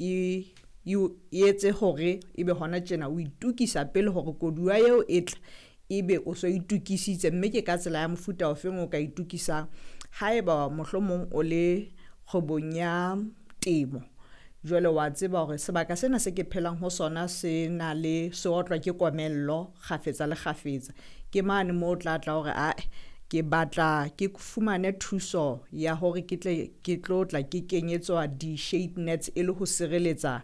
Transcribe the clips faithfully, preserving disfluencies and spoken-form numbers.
e e etse hore ebe hona tjena o itukisa pele hore koduwa eo e tla ebe o so itukisitse. Mme ke ka tsela ya mofuta ofeng o ka itukisang haeba mohlomong o le kgwebong ya temo, jwale wa tseba hore sebaka sena se ke phelang ho sona se na le se otlwa ke komello kgafetsa le kgafetsa. Ke mane moo o tla tla hore ae ke batla ke fumane thuso ya hore ke tle ke tlo tla ke kenyetswa di-shade nets e le ho sireletsa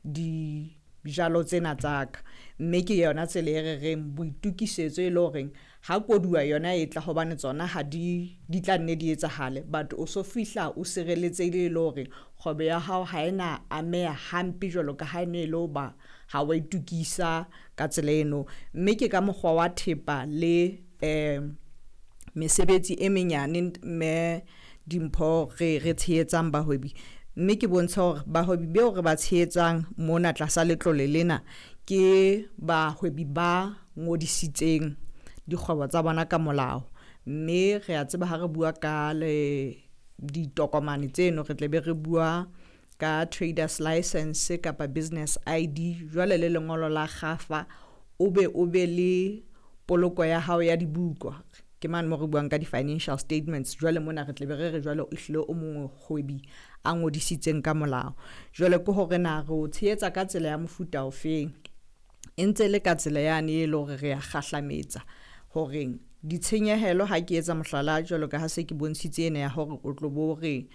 dijalo tsena tsa ka. Mme ke yona tsela e re reng boitukisetso e le horeng ha koduwa yona e tla hobane tsona ha di di tla nne di etsahale, but o so fihla o sireletsehile e le hore kgwebo ya hao ha ena ameha hampe jwalo ka ha ene e le hoba ha wa itukisa ka tsela eno. Mme ke ka mokgwa wa thepa le um mesebetsi e menyane mme Dimpho re re tshehetsang bahwebi, mme ke bontsha hore bahwebi beo re ba tshehetsang mona tlasa letlole lena ke bahwebi ba ngodisitseng dikgwebo tsa bona ka molao. Mme re a tseba ha re bua ka le ditokomane tseno re tle be re bua ka traders licence kapa business I_D jwale le lengolo la kgafa, o be o be le poloko ya hao ya dibuka. Ke mane mo re buang ka di-financial statements. Jwale mona re tle be re re jwale o hlile o mohwebi a ngodisitseng ka molao. Jwale ke hore na re o tshehetsa ka tsela ya mofuta ofeng, e ntse le ka tsela yane e le hore re ya kgahlametsa horeng ditshenyehelo ha ke etsa mohlala jwalo ka ha se ke bontshitse ena ya hore o tlo bo re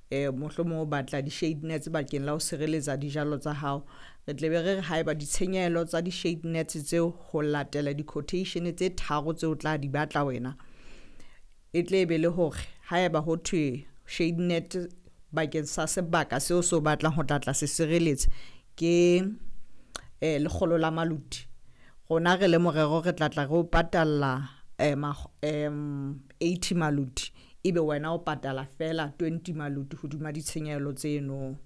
um mohlomong o batla di-shade nets bakeng la ho sireletsa dijalo tsa hao. Re tle be re re haeba ditshenyehelo tsa di-shade nets tseo ho latela di-quotation tse tharo tseo tla di batla wena, e tle be le hore haeba ho thwe shade net bakeng sa sebaka seo se o batlang ho tla tla se sireletsa ke eh lekgolo la maluti, rona re le morero re tla tla re o patalla um eighty maluti, ebe wena o patala fela twenty maluti hodima ditshenyehelo tseno.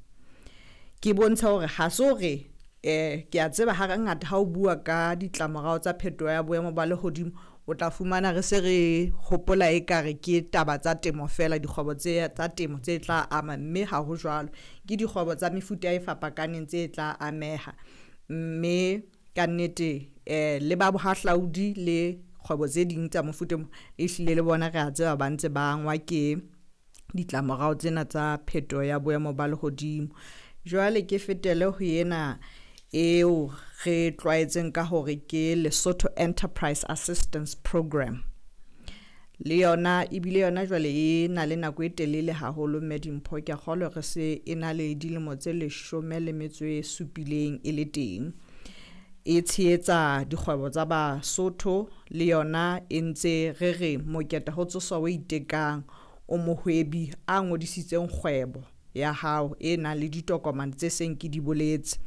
Ke bontsha hore ha se hore eh ke a tseba ha ngata ha o bua ka ditlamorao tsa phetoho ya boemo ba lehodimo, o tla fumana re se re hopola ekare ke taba tsa temo fela, dikgwebo tse tsa temo tse tla ama, mme ha ho jwalo. Ke dikgwebo tsa mefuta e fapakaneng tse tla ameha, mme kannete eh le ba bohahlaudi le kgwebo tse ding tsa mofuta o e hlile le bona re a tseba ba ntse ba angwa ke ditlamorao tsena tsa phetoho ya boemo ba lehodimo. Jwale ke fetele ho ena eo re tlwaetseng ka hore ke Lesotho Enterprise Assistance Program. Le yona ebile yona jwale e na le nako e telele haholo mme Dimpho ke a kgolwa re se e na le dilemo tse leshome le metso e supileng e le teng. E tshehetsa dikgwebo tsa Basotho le yona e ntse re re moketa ho tsoswa o itekang, o mohwebi a ngodisitseng kgwebo ya hao e nang le ditokomane tse seng ke di boletse.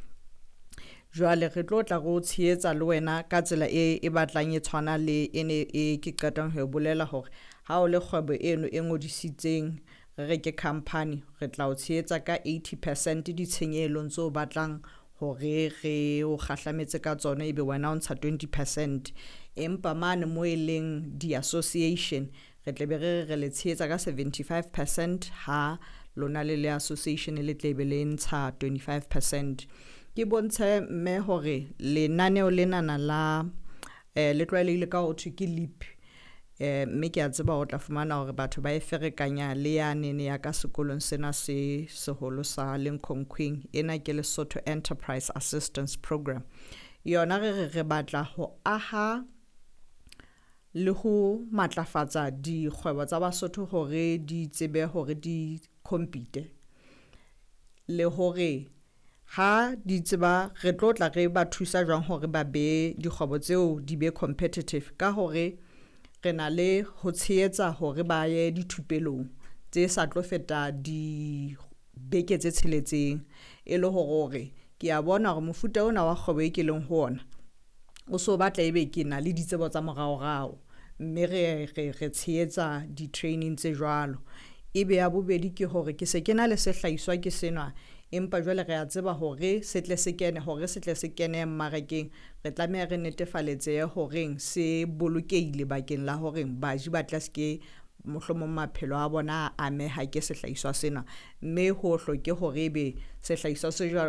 Jwale re tlo tla re o tshehetsa le wena ka tsela e e batlang e tshwana le ene e ke qetang ho e bolela hore ha o le kgwebo eno e ngodisitseng re re ke company, re tla o tshehetsa ka eighty percent ditshenyehelong tseo batlang hore re o kgahlametse ka tsona, ebe wena o ntsha twenty percent. Empa mane mo e leng di-association re tle be re re re le tshehetsa ka seventy five percent ha lona le le association le tle be le ntsha twenty five percent. Ke bontshe mme hore lenaneo lenana la eh le tlwaelehile ka ho thwe ke LEAP, eh mme ke a tseba o tla fumana hore batho ba e ferekanya le yanene ya ka sekolong sena se seholo sa Limkokwing. Ena ke Lesotho Enterprise Assistance Program. Yona re re re batla ho aha le ho matlafatsa dikgwebo tsa Basotho hore di tsebe hore di compete, le hore ha di tseba re tlo tla re ba thusa jwang hore ba be dikgwebo tseo di be competitive ka hore re na le ho tshehetsa hore ba ye dithupelong tse sa tlo feta dibeke tse tsheletseng, e le hore hore ke a bona hore mofuta ona wa kgwebo e ke leng ho ona o so batla ebe ke na le ditsebo tsa moraorao, mme re re re tshehetsa di-training tse jwalo. Ebe ya bobedi ke hore ke se ke na le sehlahiswa ke sena, empa jwale re a tseba hore se tle se kene hore se tle se kene mmarakeng, re tlameha re netefaletsehe horeng se bolokehile bakeng la hore baji ba tla se ke mohlomong maphelo a bona a ameha ke sehlahiswa sena. Mme ho hloke hore ebe sehlahiswa se jwalo